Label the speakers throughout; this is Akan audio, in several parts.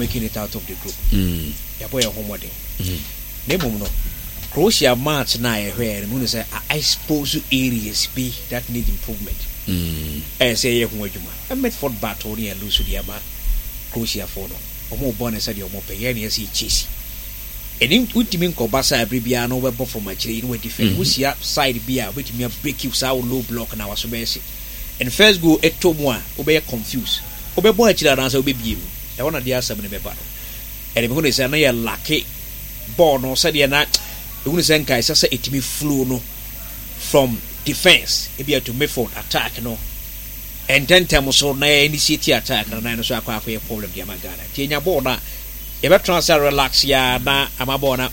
Speaker 1: making it out of the group. Yɛabɔ yɛn ho mmɔden. Na mmom no, Croatia match no a yɛhwɛɛ no, mehu no sɛ a expose areas bi that need improvement. Ɛyɛ sɛ yɛyɛ ho adwuma. Midfield battle ne yɛ lose de ama Croatiafoɔ no. Wɔn bɔ no sɛdeɛ wɔn pɛ, yɛn na yɛsɛ yɛ chase. Ɛni wontumi nkɔba saa bere biara na wobɛbɔ fam akyire yi na wadi fɛ. Wohyia side bi a wobɛtumi a break saa wo low block na waso bɛyɛ hye. And first goal ɛtɔ mu a wobɛyɛ confused. Wobɛbɔ akyire anaasɛ wobɛbie mu. Ɛhɔ na deɛ asɛm no bɛba no. Ɛde mehu ne sɛ na yɛ lacke bɔɔl no sɛdeɛ na mehu ne sɛ nka ɛsɛ sɛ ɛtumi flow no from defense ebia to midfield attack no ntɛntɛm so na yɛ initiate attack no na ɛno so akɔ akɔyɛ problem de ama Ghana. Nti yɛnya bɔɔl no a yɛbɛtena ase relax ya na ama bɔɔl no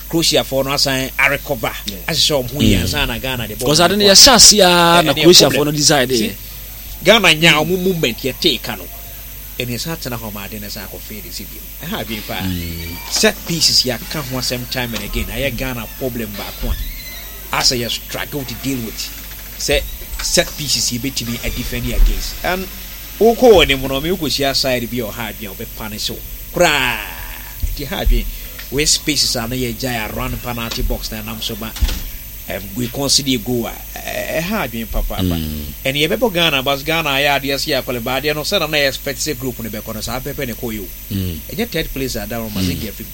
Speaker 1: Croatiafoɔ no asan arecover ahyehyɛ wɔn ho yie ansa na Ghana de bɔɔl no.
Speaker 2: Because ade no yɛhyɛ ase a na Croatiafoɔ no decide yɛ.
Speaker 1: Ghana nya wɔn movement yɛtee ka no ɛne ɛsan tena hɔ ma ade no san akɔ fade si bio. Ɛha adwene paa. Set pieces yɛaka ho asɛm time and again ayɛ Ghana problem baako a asɛ yɛ struggle to deal with sɛ set pieces yɛbɛtumi adefend against and wokɔ wɔ anim no ɔme wokɔhyia side bi a ɔha adwene a wɔbɛpa no koraa nti ha adwene wei spaces a na yɛgyae around penalty box na ɛnam so ma we concede a goal a ɛha adwene papaapa. Ɛne yɛbɛbɔ Ghana but Ghana ayɛ adeɛ sɛ yɛakɔle ba adeɛ no sɛna na yɛ expect sɛ group no bɛkɔ no saa pɛpɛ ne kɔyɛ o. Ɛnyɛ third place a da no ma sɛ nka afim.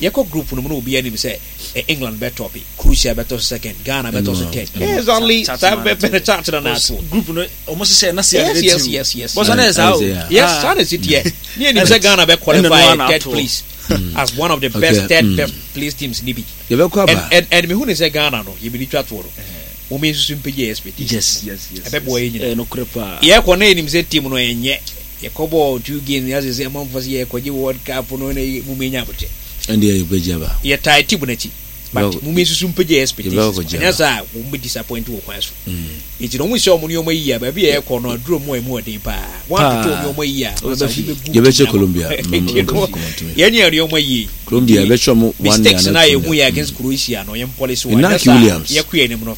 Speaker 1: Yɛkɔ group no mu na obi anim sɛ England bɛtɔpe, Croatia bɛtɔ so second, Ghana bɛtɔ so third. Exactly saa pɛpɛ ne chart na na ato.
Speaker 2: Group no ɔmo hyehyɛ na sɛ
Speaker 1: Yes.
Speaker 2: Bɔsɔ na yɛ saa o.
Speaker 1: Yes, saa na ɛsi teɛ. Ne yɛnim sɛ Ghana bɛ qualify third place as one of the best third best place teams ni bi.
Speaker 3: Yɛbɛkɔ aba.
Speaker 1: And mehu ne sɛ Ghana no yɛbɛdi twa toɔ no wɔn nsusu mpagya yɛ expectations.
Speaker 2: Yes.
Speaker 1: Ɛbɛboa yɛ nyinaa.
Speaker 2: Ɛyɛ nokorɛ paa.
Speaker 1: Yɛkɔ na yɛnim sɛ team no ɛnyɛ yɛkɔ bɔɔ two games yɛ sɛ amanfoɔ sɛ yɛkɔgye World Cup no na mu menya abotɛ.
Speaker 3: Ɛnde yɛbɛgye aba.
Speaker 1: Yɛtae team no akyi but mu nsusu mpagya yɛ expectations.
Speaker 3: Yɛbɛkɔgye
Speaker 1: Ɛnyɛ
Speaker 3: aba.
Speaker 1: saa a wɔn bɛ disappoint wɔ kwan so. Nti na wɔn nhyɛ wɔn nneɛma yie a baabi a yɛkɔ no aduro mu a emu ɔden paa. Wɔn atoto wɔn nneɛma yie a masa obi bɛgu
Speaker 3: Yɛbɛhyɛ
Speaker 1: team no ama.
Speaker 3: Colombia.
Speaker 1: Nti no yɛn nyɛ nneɛma yie.
Speaker 3: Colombia yɛbɛhyɛ ɔmo one
Speaker 1: Mistakes
Speaker 3: nil
Speaker 1: na
Speaker 3: anaa
Speaker 1: yɛhu
Speaker 3: two
Speaker 1: yɛ
Speaker 3: nil.
Speaker 1: against Croatia no yɛn policy wɔ
Speaker 3: Inaki
Speaker 1: ɛnyɛ saa
Speaker 3: Williams.
Speaker 1: yɛkɔ yɛn anim no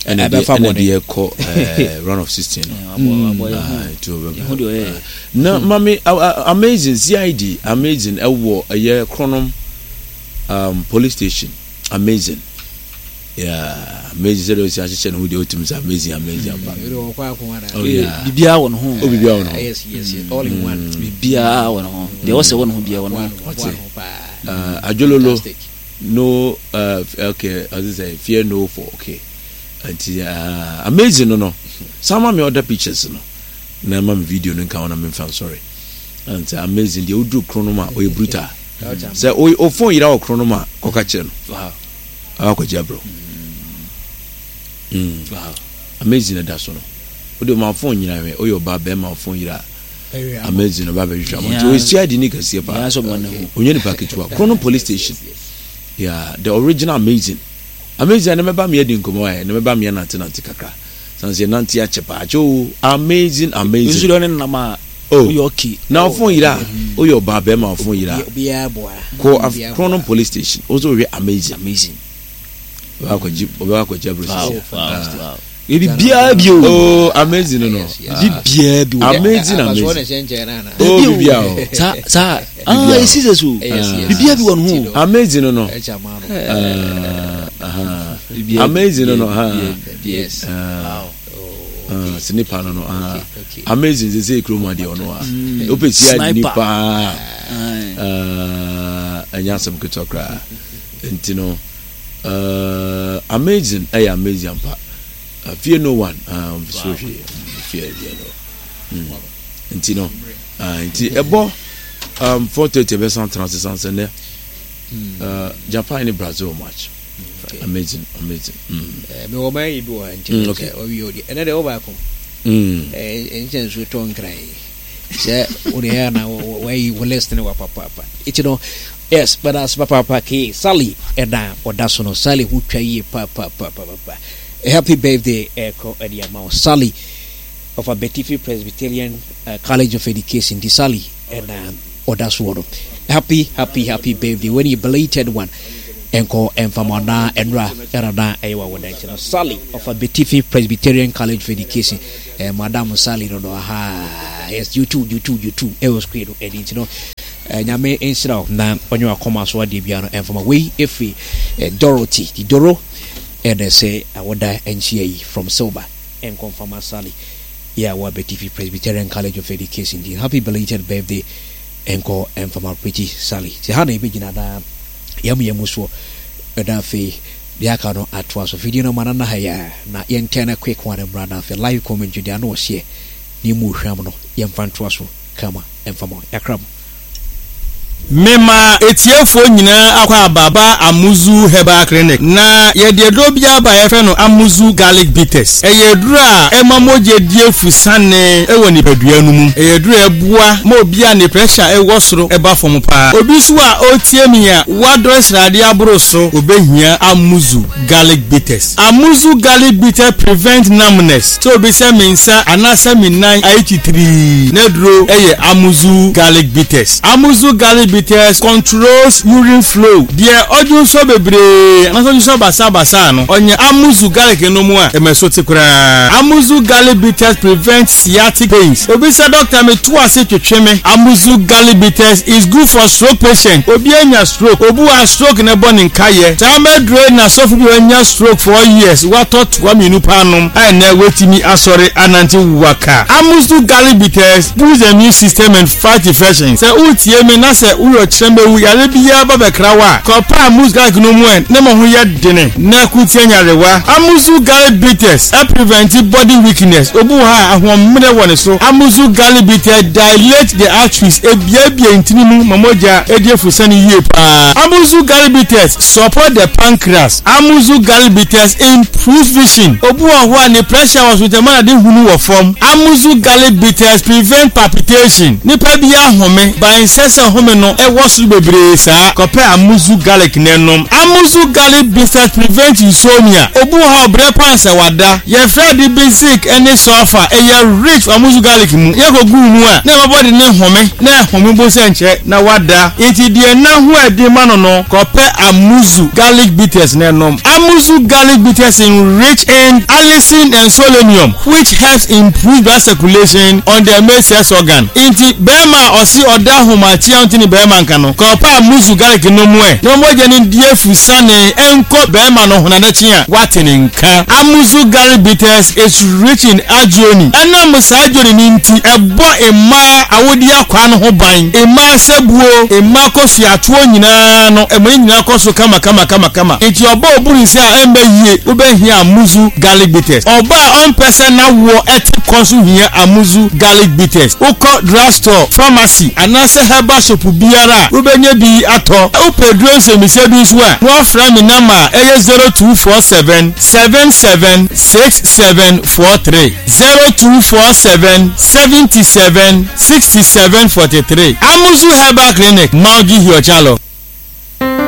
Speaker 3: Ɛna deɛ
Speaker 1: ɛbɛfa
Speaker 3: ɛna
Speaker 1: bɔne.
Speaker 3: deɛ ɛkɔ round of 16 no.
Speaker 2: Abɔ yɛ ho.
Speaker 3: Ah, nti ɔbɛba.
Speaker 2: Yɛ ho deɛ ɔyɛ.
Speaker 3: Na mami amazing CID amazing ɛwɔ ɛyɛ Kronom police station amazing. Yeah, amazing sɛ deɛ ɔsi ahyehyɛ ne ho deɛ ɔtumi sɛ amazing amazing ampa. Oh yeah.
Speaker 2: Biribiara wɔ ne ho.
Speaker 3: Oh biribiara wɔ ne ho.
Speaker 1: Yes, all in one.
Speaker 2: Biribiara wɔ ne ho. Deɛ ɔsɛ wɔ ne ho biara wɔ ne ho.
Speaker 3: Ɔte. Adwololo no okay ɔse sɛ fear no for okay. Nti amazing no no. San ma me other pictures no. Na ma me video no nka ho na memfa nsɔre. Nti amazing deɛ woduru kro no ma ɔyɛ brutal. Sɛ o phone yera wɔ kro no ma kɔka kyerɛ no.
Speaker 2: Wow.
Speaker 3: Akɔgye abrɛ.
Speaker 2: Wow.
Speaker 3: Amazing ɛda so no. Wode ma phone nyina hwɛ woyɛ ɔbaa bɛrima phone yera amazing ɔba bɛhwehwɛ ama nti ɔyɛ CID ni kɛseɛ paa. Ɔnyɛ nipa ketewa. Krono police station. Yeah, the original amazing. Amazing ne mɛba meɛ di nkɔmmɔ ɛ ne mɛba meɛ nante nante kakra. Sanse nante akyɛ paa akyɛ o amazing amazing.
Speaker 2: Nsu deɛ ɔne nam a
Speaker 3: Oh.
Speaker 2: woyɛ okay.
Speaker 3: Na ɔfon yera woyɛ ɔbaa bɛrima ɔfon yera
Speaker 1: Obiara boa.
Speaker 3: kɔ Krono police station wo nso wohwɛ amazing.
Speaker 2: Amazing.
Speaker 3: Ɔbɛba akɔgye abrɛ
Speaker 2: Wow,
Speaker 3: sisi.
Speaker 2: wow, wow. Biribiara bi o.
Speaker 3: Oh, amazing no no.
Speaker 2: Biribiara bi o.
Speaker 3: Amazing amazing. Oh, biribiara o.
Speaker 2: Saa saa. Ah, esi sɛ so. Biribiara bi wɔ ne ho.
Speaker 3: Amazing no no. Amazing no no.
Speaker 1: Yes.
Speaker 3: Sɛ nipa no no. Amazing sɛ sɛ kurom adeɛ ɔno a. Wopɛ si adi nipa. Ɛnyɛ asɛm ketewa koraa. Nti no. Amazing ɛyɛ amazing ampa. Fear no one. So hwee. Fear fear no. Nti no. Nti ɛbɔ 4:30 ɛbɛsan tena ase san sɛ nɛ. Japan ne Brazil match. Amazing amazing.
Speaker 1: Mewɔ ɔman yi bi wɔ ha nti sɛ ɔwie ɔdeɛ ɛnɛ deɛ wobaako ɛnkyɛ nsuo tɔ nkran sɛ wode ɛyɛ na wayi wo list ne wapapaapa nti no yes but as papaapa ke Sally ɛna ɔda so no Sally ho twa yie papaapapapa happy birthday ɛkɔ ɛde ama wo Sally of Abetifi Presbyterian College of Education nti Sally ɛna ɔda soɔ no happy happy happy birthday when you belated one. Ɛnkɔ ɛmfa mo anaa ɛnora ɛna na ɛyɛ w'awoda nti no Sally of Abetifi Presbyterian College of Education eh, Madam Sally no no aha yes you too you too you too ɛwɔ screen no ɛni nti no eh, nyame nhyira wo na ɔnyɛ wakɔma so adeɛ biara no ɛmfa ma wei ɛfiri eh, Dorothy Didoro ɛna ɛsɛ awoda nkyia yi from Silver ɛnkɔ mfa ma Sally yɛ a wɔ Abetifi Presbyterian College of Education nti happy belated birthday ɛnkɔ ɛmfa ma Pretty Sally nti ha na yɛbɛgyina daa Yɛn yɛn mu soɔ na afei deɛ aka no atoa so. Video no ma no nna ha yi ara na yɛntɛn no quick one mmra na afei live commentary deɛ ano ɔhyeɛ na emu hwam no yɛmfa ntoa so kama mfa ma wo. Yɛakra mo.
Speaker 4: Mema etiefoɔ nyinaa akwaaba ba Amuzu Herbal Clinic. Na yɛde aduro bi aba a yɛfrɛ no Amuzu Garlic Bitters. Ɛyɛ aduro a ɛma mogya di afusane wɔ nipadua no mu. Ɛyɛ aduro a ɛboa ma obi a ne pressure wɔ soro ba fam paa. Obi nso a ɔretie me a wadɔre sradeɛ aboro so, ɔbɛhia Amuzu Garlic Bitters. Amuzu Garlic Bitters prevent numbness. Sɛ obi sɛ me nsa anaasɛ me nan ayɛ titirii, n'aduro yɛ Amuzu Garlic Bitters. Amuzu Garlic Bitters controls urine flow. Deɛ ɔdwonsɔ bebree anaasɛ ɔdwonsɔ basaabasaa no, ɔnya Amuzu Garlic nom a, ɛma ɛso te koraa. Amuzu Garlic Bitters prevents sciatic pains. Obi sɛ dɔkta me to ase twetwe me. Amuzu garlic bitters is good for stroke patient. Obi anya stroke, obi wɔ a stroke no bɔ ne nkayɛ. Saa mɛduro yi na sɔfo bi a wanya stroke 4 years watɔ toa mmienu paa nom a ɛnɛ watumi asɔre anante waka. Amuzu garlic bitters boosts the immune system and fight infections. Sɛ woretie me na sɛ woyɛ ɔkyerɛmɛwu yare biara ba bɛkra wo a, kɔpɛ Amuzu garlic no mu ɛ ne mo ho yɛ dene na ɛko tia nyarewa. Amuzu garlic bitters prevent body weakness, obi wɔ hɔ a ahoɔmmerɛ wɔ ne so. Amuzu garlic bitters dilate the arteries, ebiebie ntini mu ma mogya di afusane yie paa. Amuzu garlic bitters support the pancreas. Amuzu garlic bitters improve vision, obi wɔ hɔ a ne pressure wɔ so nti ɛma n'ade hunu wɔ fam. Amuzu garlic bitters prevent palpitation, nipa bi ahome but ɛnsɛ sɛ home no wɔ soro bebree saa, kɔpɛ Amuzu garlic na nom. Amuzu garlic bitters prevent insomnia, obi wɔ hɔ a ɔbrɛ paa sɛ wada. Yɛfrɛ ade bi zinc ne sulfur, ɛyɛ rich wɔ amuzu garlic mu. Yɛkɔ gu wo mu a, na ɛma body no home, na ɛhome mpo sɛ nkyɛ na wada. Nti deɛ nna ho ɛden ma no no, kɔpɛ amuzu garlic bitters na nom. Amuzu garlic bitters in rich in allicin and solenium which helps improve blood circulation on the male sex organ. Nti bɛɛma a ɔse ɔda ahomakye a ɔnte ne bɛɛma nka no, kɔpɛ amuzu garlic nom ɛ, na mogya no ndi afusane nkɔ bɛɛma no ho na n'akyi a, wate ne nka. Amuzu garlic bitters is rich in arginine. Ɛnam saa arginine no nti, ɛbɔ mmaa awodeɛ akwaa no ho ban. Mmaa sabuo, mmaa kɔsuatoɔ nyinaa no, ɛma ne nyinaa kɔ so kama kama kama kama. Nti ɔba oburu nsa a ɛmma yie, wobɛhia Amuzu garlic bitters. Ɔba a ɔmpɛ sɛ n'awoɔ te kɔ nso hia Amuzu garlic bitters. Wokɔ drugstore, pharmacy anaasɛ herbal shop biara a, wobɛnya bi atɔ. Wopɛ aduro nsɛmmisa bi nso a, na woafrɛ me nɔma a ɛyɛ 0247 77 6743, 0247 77 67 43. Amuzu Herbal Clinic, Maugi Hiochalo.